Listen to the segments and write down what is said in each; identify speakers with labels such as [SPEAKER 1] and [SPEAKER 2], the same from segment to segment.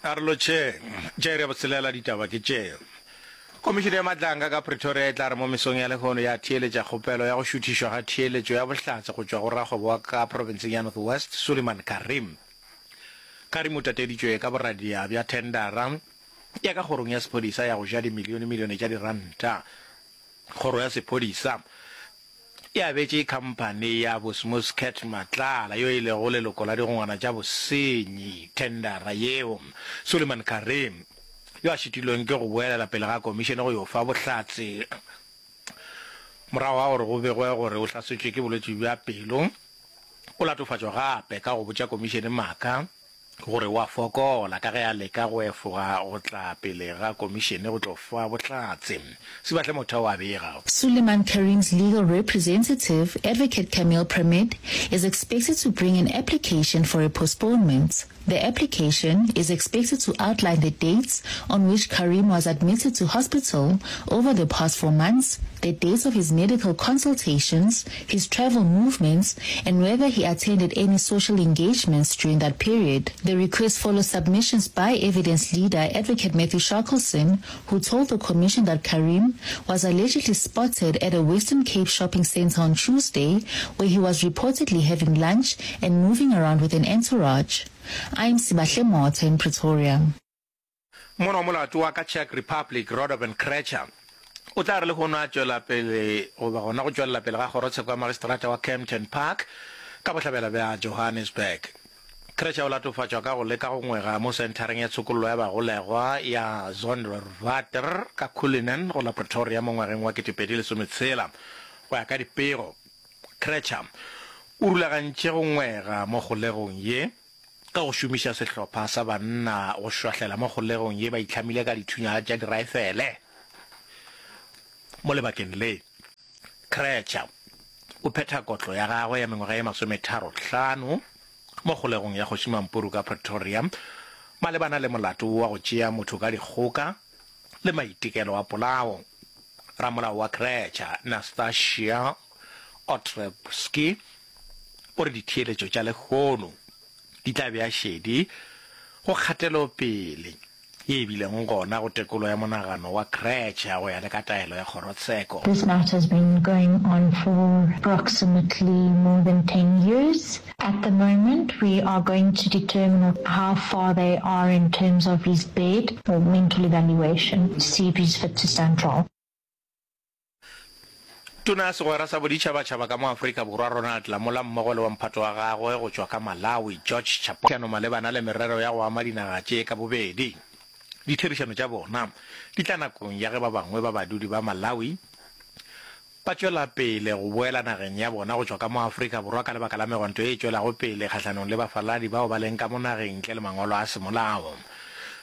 [SPEAKER 1] A re lotšheng. Tša iri ya botshelela ditaba ke tše. Komišene ya Matlanka ka Pretoria e tla re mo mesong ya lehono ya theeletša kgopelo ya go šuthišwa ga theeletšo ya bohlatse go tšwa go rakgwebo wa ka profenseng ya North West, Suliman Carrim. Carrim o tateditšwe ka boradia bja thendara ya ka kgorong ya sephodisa ya go ja dimilionemilione tša diranta. Kgoro ya sephodisa e abetše khamphani ya Bosmuscat Matlala yo e lego leloko la digongwana tša bosenyi thendara yeo. Suliman Carrim, yo a šitilweng ke go boelela pele ga komišene go yo fa bohlatse morago ga gore go begwe gore o hlasetšwe ke bolwetši bja pelo, o latofatšwa gape ka go botša komišene maaka gore o a fokola ka ge a leka go efoga go tla pele ga komišene go tlo fa bohlatse. Sibahle Motha o a bega.
[SPEAKER 2] Suleiman Carrim's legal representative, Advocate Kameel Pramid, is expected to bring an application for a postponement. The application is expected to outline the dates on which Carrim was admitted to hospital over the past four months, the dates of his medical consultations, his travel movements, and whether he attended any social engagements during that period. The request follows submissions by evidence leader Advocate Matthew Shackleson, who told the commission that Carrim was allegedly spotted at a Western Cape shopping center on Tuesday, where he was reportedly having lunch and moving around with an entourage. I'm Sibahle Motha in Pretoria.
[SPEAKER 1] Mona wa molato wa ka Czech Republic, Radovan Krejcir, o tla re lehono a tšwela pele goba gona go tšwelela pele ga kgorotsheko ya magistrata wa Kempton Park ka bohlabela bja Johannesburg. Krejcir o latofatšwa ka go leka go ngwega mo senthareng ya tshokollo ya bagolegwa ya Zonderwater ka Cullinan go la Pretoria mo ngwageng wa 2016. Go ya ka dipego, Krejcir o rulagantše go ngwega mo kgolegong ye Ka go šomiša sehlopha sa banna go šwahlela mo kgolegong ye ba itlhamile ka dithunya tša diraefele. Mo lebakeng le, Krejcir o phetha kotlo ya gagwe ya mengwaga ye masometharohlano mo kgolegong ya Kgoši Mampuru ka Pretoria malebana le molato wa go tšea motho ka dikgoka le maitekelo a polao. Ramolao wa Krejcir, Nastasia Otrebski, O re ditheeletšo tša lehono di tla bea šedi go kgatelopele ye e bileng gona go tekolo ya monagano wa Krejcir go ya le ka taelo ya kgorotsheko.
[SPEAKER 3] This matter has been going on for approximately more than 10 years. At the moment we are going to determine how far they are in terms of his bed or mental evaluation to see if he's fit to stand trial.
[SPEAKER 1] Tona ya Segwera sa Boditšhabatšhaba ka mo Afrika Borwa Ronald Lamola mmogo le wa mphato wa gagwe go tšwa ka Malawi George Chaponda malebana le merero ya go ama dinaga tše ka bobedi. Ditherišano tša bona di tla nakong ya ge ba bangwe ba badudi ba Malawi ba tšwela pele go boela nageng ya bona go tšwa ka mo Afrika Borwa ka lebaka la megwanto ye e tšwelago pele kgahlanong le bafaladi bao ba leng ka mo nageng ntle le mangwalo a semolao.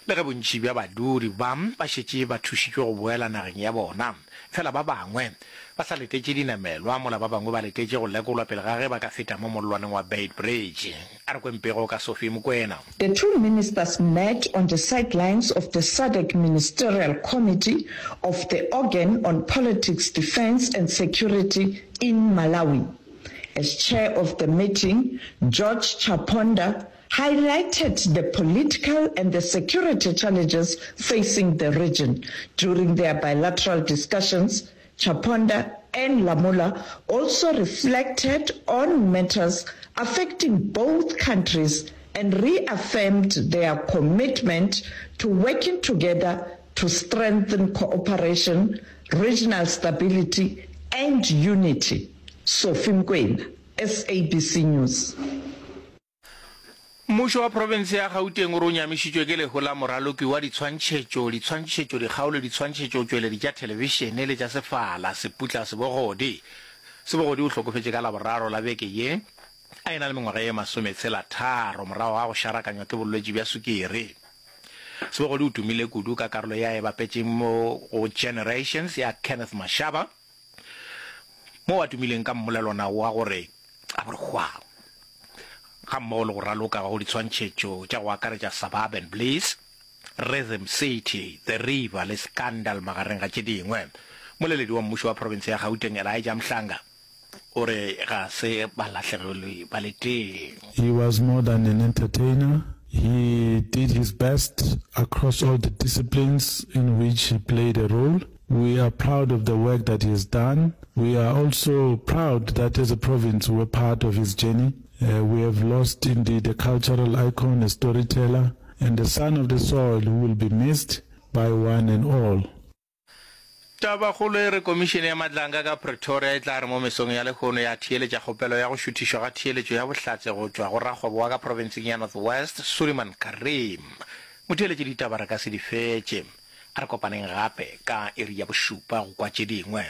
[SPEAKER 1] Le ge bontši bja badudi ba ba šetše ba thušitšwe go boela nageng ya bona, fela ba bangwe ba sa letetše dinamelwa mola ba bangwe ba letetše go lekolwa pele ga ge ba ka feta mo mollwaneng wa Beitbridge. A re kweng pego ka Sophie Mokoena.
[SPEAKER 4] The two ministers met on the sidelines of the SADC Ministerial Committee of the Organ on Politics, Defence and Security in Malawi. As chair of the meeting, George Chaponda highlighted the political and the security challenges facing the region. During their bilateral discussions, Chaponda and Lamola also reflected on matters affecting both countries and reaffirmed their commitment to working together to strengthen cooperation, regional stability and unity. Sophie Mokoena, SABC News.
[SPEAKER 1] Mmušo wa profense ya Gauteng o re o nyamišitšwe ke lehu la moraloki wa ditshwantšhetšo, ditshwantšhetšo, dikgao le ditshwantšhetšotšweledi tša thelebišene le tša sefala, Seputla Sebogodi. Sebogodi o hlokofetše ka Laboraro la beke ye a e na le mengwaga ye masometshela-tharo morago ga go šarakanywa ke bolwetši bja sukiri. Sebogodi o tumile kudu ka karolo ye a e bapetšeng mo go Generations ya Kenneth Mashaba, moo a tumileng ka mmolelwana wa gore a bo re hwa, gammogo le go raloka go ditshwantšhetšo tša go akaretša Suburban Bliss, Rhythm City, The River le Scandal magareng ga tše dingwe. Mmoleledi wa mmušo wa profense ya Gauteng Elijah Mhlanga o re ga se ba lahlegelwe ba le tee.
[SPEAKER 5] He was more than an entertainer. He did his best across all the disciplines in which he played a role. We are proud of the work that he has done. We are also proud that as a province we were part of his journey. Uh, we have lost indeed a cultural icon, a storyteller, and a son of the soil who will be missed by one and all.
[SPEAKER 1] Tabakgolo e re Komišene ya Matlanga ka Pretoria e tla re mo mesong ya lehono ya theeletša kgopelo ya go šuthišwa ga theeletšo ya bohlatse go tšwa go rakgwebo wa ka profenseng ya North West, Suliman Carrim. Motheeletši ditaba re ka se di fetše. A re kopaneng gape ka iri ya bošupa go kwa tše dingwe.